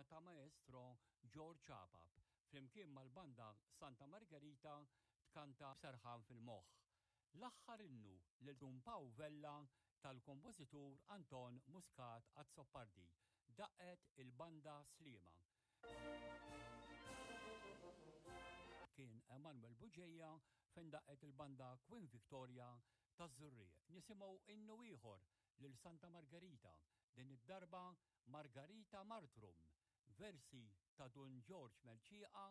ta' Maestro George Apap, flimkien mal-Banda Santa Margherita tkanta B'Serħan fil-Moħħ. L-aħħar innu lil Dun Paw Vella tal-kompożitur Anton Muscat Azzopardi, daqqet il-Banda Sliema. Kien Emanuel Bugeja fejn daqqet il-Banda Queen Victoria taż-Żurrieq. Nisimgħu innu ieħor lil Santa Margerita, din id-darba Margarita Martrum, versi ta' Dun Ġorġ Mercieca.